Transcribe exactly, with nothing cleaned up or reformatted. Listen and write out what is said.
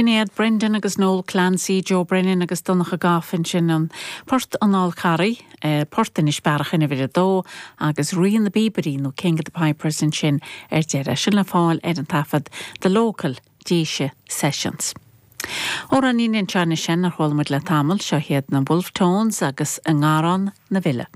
Sin iad Brendan agus Noel Clancy, Joe Brennan agus Donncha Goff ansin an port an Fhál Carraigh, eh, port Inis Bearach in uimhir a dó agus Rí na bPíobairí nó King of the Pipers ansin ar deireadh sin le fáil ar an taifead The Local Déise Sessions. Amhráinín anseo sin ar chuala muid le tamall seo hiad na Wolfe Tones agus an nGarrán na Bhile.